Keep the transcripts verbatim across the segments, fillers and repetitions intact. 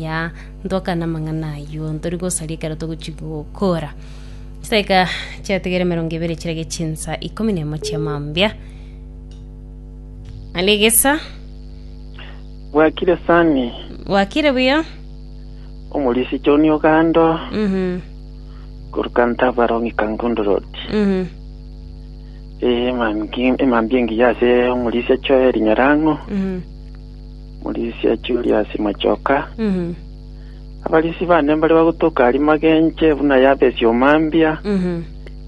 Amaya ntwakana amang'ana aywo ntori gosaria ekero togochi gokora. Chidaeka chiatigere emerongo ebere chirage chinsa ikomi na emo chia mambia. Alegesa Bwakire sani wakire buya. Omorisi John Ogando Mhm. koruka Ntabarongi Kangundo Road. Mhm. Eh mambi emambi engiya ase omorisi Joel Nyarango, Mhm. omorisi Julius Machoka. Mhm. Abarisi bane mbari bagotoka ari Magenche buna Yabesi Omambia, Mhm.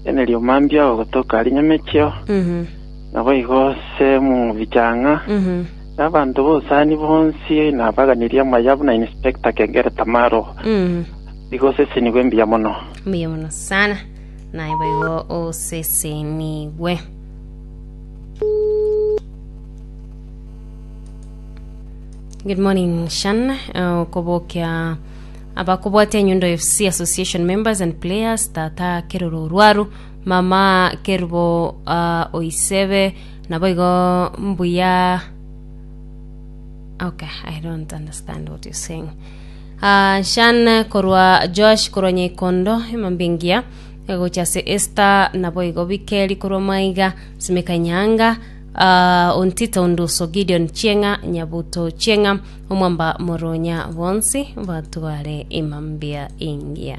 Eneri Omambia ogotoka ari Nyamechio, Mhm. nabo igo Semu Bichang'a. Mhm. Abanto bosani bonsi nabaganirie amaya buna Inspector Kengere Tamaro. Mhm. Igo sesenigwe mbuya mono. Mbuya mono sana naye boigo osesenigwe. Good morning Shan. Uh, kobokia abakobwatia Nyundo FC Association members and players tata Keroro Orwaru mama Kerubo uh, Oisebe naboigo mbuya. Okay, I don't understand what you're saying. Uh, Shan korwa Josh korwa Nyekondo emambingia gocha ase Esther naboigo Bikeri korwa Maiga Simeka Nyanga uh, Ontita Onduso Gideon Chieng'a Nyabuto Chieng'a Omwamba Moronya bonsi batware emambia ingia.